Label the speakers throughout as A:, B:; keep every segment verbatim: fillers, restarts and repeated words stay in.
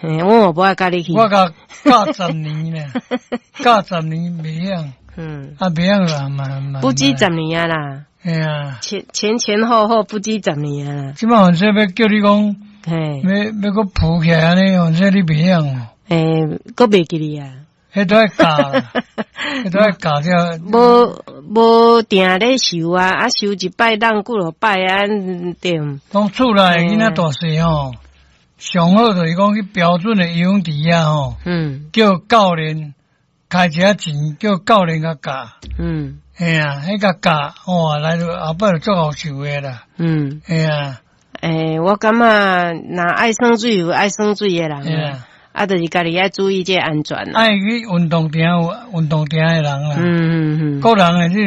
A: 嘿，我無愛佮你去。
B: 我共教十年咧，教十年袂曉。
A: 嗯。
B: 啊，袂曉啦嘛嘛。
A: 不止十年啊啦。
B: 嘿啊。
A: 前前前後後不止十年啊。
B: 這擺反正欲叫你講，
A: 嘿，
B: 欲欲閣浮起來按呢，反正你袂曉哦。
A: 欸，閣袂記得啊。
B: 彼都愛教，彼都愛教才。
A: 無無定咧修啊，啊修一擺當幾落擺啊，對。
B: 講厝內囡仔大細吼，上好就是講去標準的游泳池遐吼，
A: 嗯，
B: 叫教練開一下錢，叫教練共教。
A: 嗯，
B: 嘿啊，彼共教，哇，來就後擺就足𠢕受的啦。
A: 嗯，
B: 嘿啊。
A: 欸，我感覺若愛耍水有愛耍水的人啊。啊，就是家己愛注意這個安全
B: 啦。愛去運動場運動場的人啦。
A: 嗯嗯嗯。
B: 個人的這個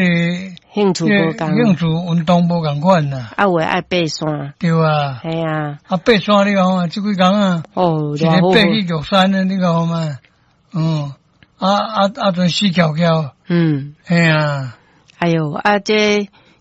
A: 興趣無仝，
B: 興趣運動無仝款啦。
A: 啊，有的愛爬山。
B: 對啊。
A: 嘿啊。
B: 啊，爬山你看嘛，這幾工啊，
A: 哦，
B: 一个爬去玉山的，你看嘛，嗯，啊啊啊，陣死翹翹。
A: 嗯。
B: 嘿啊。
A: 哎喲，啊，這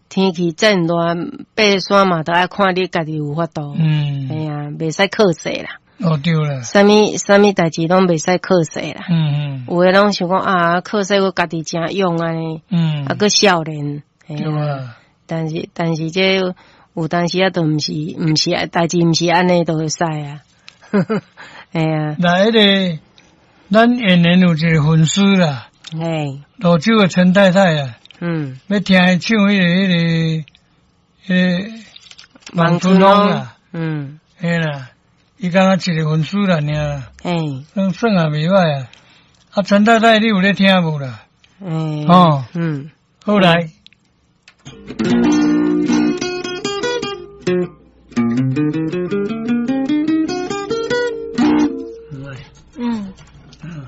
A: 天氣這熱，爬山嘛，都愛看你家己有法度。
B: 嗯。
A: 嘿啊，袂使靠勢啦。
B: 哦，對啦，
A: 啥物啥物代誌攏袂使靠勢啦。
B: 嗯嗯，
A: 有的攏想講啊，靠勢我家己誠勇按呢，
B: 嗯，
A: 啊，閣少年，
B: 對啊。
A: 但是但是這有當時啊，都毋是毋是代誌毋是按呢就會使啊。嘿啊。
B: 來，彼个咱演員有一個粉絲啦，
A: 嘿，
B: 蘆洲的陳太太啊，
A: 嗯，
B: 欲聽伊唱彼個彼个彼个望春風啦，
A: 嗯，
B: 嘿啦。伊敢若一個粉絲啦，爾，
A: 嘿，
B: 算算也袂䆀啊。啊，陳太太，你有咧聽無啦？
A: 欸，
B: 哦，
A: 嗯，
B: 好來。
A: 嗯。
B: 嗯。